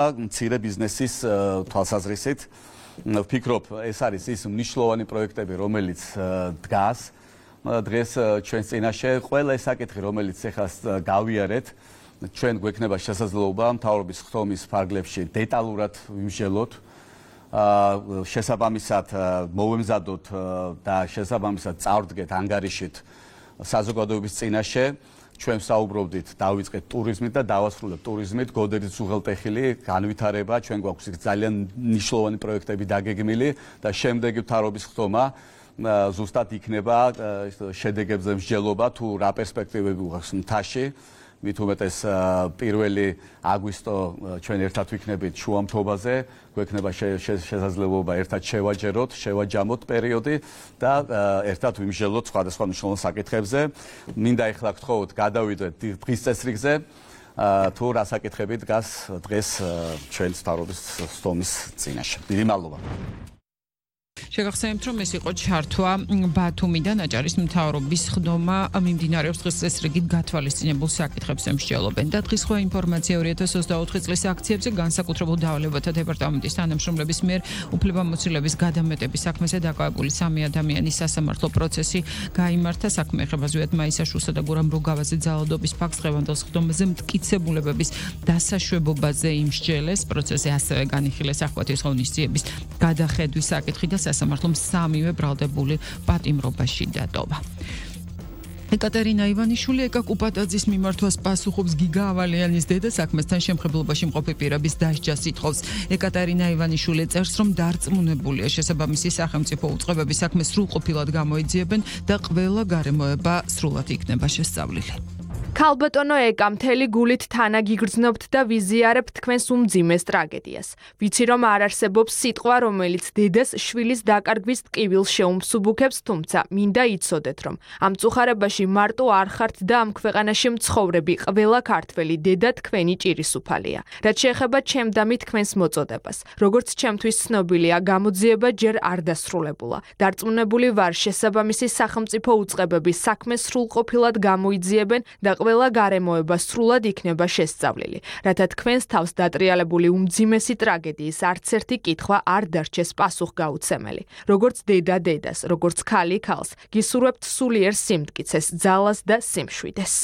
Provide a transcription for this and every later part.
მცირე ბიზნესის თვალსაზრისით ვფიქრობ, ეს არის ის მნიშვნელოვანი პროექტები, რომელიც დგას დღეს ჩვენს წინაშე. ყველა ეს საკითხი, რომელიც ახლა გავიარეთ, ჩვენ გვექნება შესაძლებლობა მთავრობის ხდომის ფარგლებში დეტალურად ვიმსჯელოთ, შესაბამისად მოვემზადოთ და შესაბამისად წავდგეთ ანგარიშით საზოგადოების წინაშე. ჩვენ საუბრობდით, დავიწყეთ ტურიზმით და დავასრულებთ ტურიზმით, გოდერის უღელტეხილი განვითარება, ჩვენ გვაქვს ძალიან მნიშვნელოვანი პროექტები დაგეგმილი და შემდეგი მთავრობის ხდომა ზუსტად იქნება შედეგებზე მსჯელობა თუ რა პერსპექტივები გვაქვს მთაში. მით უმეტეს 1 აგვისტო ჩვენ ერთად ვიქნებით შუამთობაზე, გვექნება შესაძლებლობა ერთად შევაჯამოთ პერიოდი და ერთად ვიმსჯელოთ სხვადასხვა მნიშვნელოვან საკითხებზე. მინდა ეხლა გთხოვოთ, გადავიდეთ დღის წესრიგზე, თუ რა საკითხები დგას დღეს ჩვენს მთავრობის ხდომის წინაშე. დიდი მადლობა. შეგახსენებთ, რომ ეს იყო ჩართვა ბათუმიდან აჭარის მთავრობის ხდომა მიმდინარეობს დღის წესრიგით გათვალისწინებულ საკითხებს ემსჯელობენ და დღის სხვა ინფორმაცია 2024 წლის აქციებზე განსაკუთრებულ დავალებათა დეპარტამენტის თანამშრომლების მიერ უფლებამოსილების გადამეტების საქმეზე დაკავებული 3 ადამიანის სასამართლო პროცესი გაიმართა. საქმე ეხება ზვიად მაისაშვილსა და გურამ როგავაზე ძალადობის ფაქტს დღევანდელს ხდომაზე მტკიცებულებების დასაშვებობაზე იმსჯელეს. პროცესზე ასევე განიხილეს ახალთის ღონისძიების გადახედვის საკითხი და სასამართლომ 3-ვე ბრალდებული პატიმრობაში დატოვა. ეკატერინა ივანიშვილი ეკა კუპატაძის მიმართვას პასუხობს გიგა ავალიანის დედა საქმესთან შემხებლობაში მყოფი პირების დასჯას ითხოვს. ეკატერინა ივანიშვილი წერს, რომ დარწმუნებულია შესაბამისი სახელმწიფო უწყებები საქმეს სრულყოფილად გამოიძიებენ და ყველა გარემოება სრულად იქნება შესწავლილი. ქალბატონო ეკა, მთელი გულით თანაგიგრძნობთ და ვიზიარებთ თქვენს უმძიმეს ტრაგედიას. ვიცი, რომ არ არსებობს სიტყვა, რომელიც დედას შვილის დაკარგვის ტკივილს შეუმსუბუქებს, თუმცა მინდა იცოდეთ, რომ ამ წუხარებაში მარტო არ ხართ და ამ ქვეყანაში მცხოვრები ყველა ქართველი დედა თქვენი ჭირისუფალია. რაც შეეხება ჩემდამი თქვენს მოწოდებას. როგორც ჩემთვის ცნობილია, გამოძიება ჯერ არ დასრულებულა. დარწმუნებული ვარ, შესაბამისი სახელმწიფო უწყებები საქმეს სრულყოფილად გამოიძიებენ და ყველა გარემოება სრულად იქნება შესწავლილი, რათა თქვენს თავს დატრიალებული უმძიმესი ტრაგედიის არც ერთი კითხვა არ დარჩეს პასუხგაუცემელი. როგორც დედა დედას, როგორც ქალი ქალს, გისურვებთ სულიერ სიმტკიცეს, ძალას და სიმშვიდეს.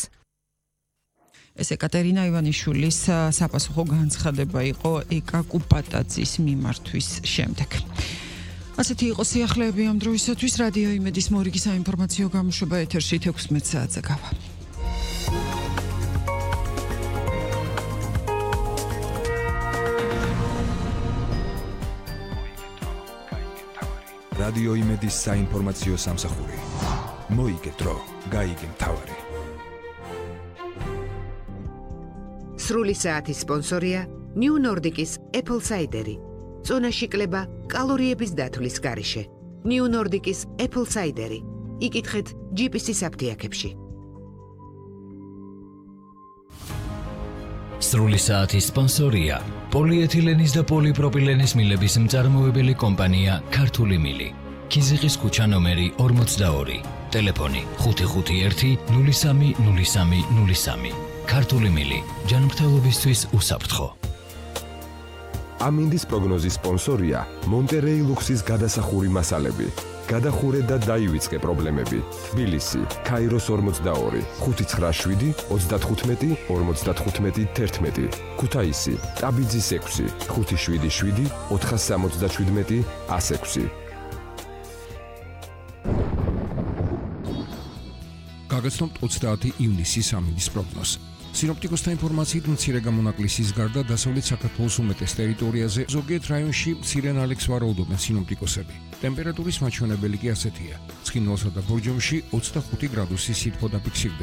ეს ეკატერინა ივანიშვილის საპასუხო განცხადება იყო ეკა კუპატაძის მიმართვის შემდეგ. ასეთი იყო სიახლეები ამ დროისათვის. რადიო იმედის მორიგი საინფორმაციო გამოშვება ეთერში 16 საათზე გავა. რადიო იმედის საინფორმაციო სამსახური. მოიგე დრო, გაიგე მთავარი. სრული საათის სპონსორია New Nordic-ის Apple Cider. წონაში კლება კალორიების დათვლის გარეშე. New Nordic-ის Apple Cider. იკითხეთ GPS-ის აფთიაქებში. სრული საათის სპონსორია პოლიეთილენის და პოლიპროპილენის მილების მწარმოებელი კომპანია ქართული მილი. ქიზიყის ქუჩა ნომერი 42. ტელეფონი 551 03 03 03. ქართული მილი. ჯანმრთელობისთვის უსაფრთხო. ამინდის პროგნოზის სპონსორია მონტერეი ლუქსის გადასახური მასალები. გადახურე და დაივიწყე პრობლემები. თბილისი, ქაიროს 42, 597, 35, 55, 11. ქუთაისი, ტაბიძის 6, 577, 477, 106. გაგაცნობთ 30 ივნისის ამინდის პროგნოზს. სინოპტიკოსთა ინფორმაციით მცირე გამონაკლისის გარდა დასავლეთ საქართველოს უმეტეს ტერიტორიაზე ზოგიერთ რაიონში მცირე ნალექს ვარაუდობენ სინოპტიკოსები. ტემპერატურის მაჩვენებელი კი ასეთია. ცხინვალსა და ბორჯომში 25 გრადუსი სითბო დაფიქსირდება.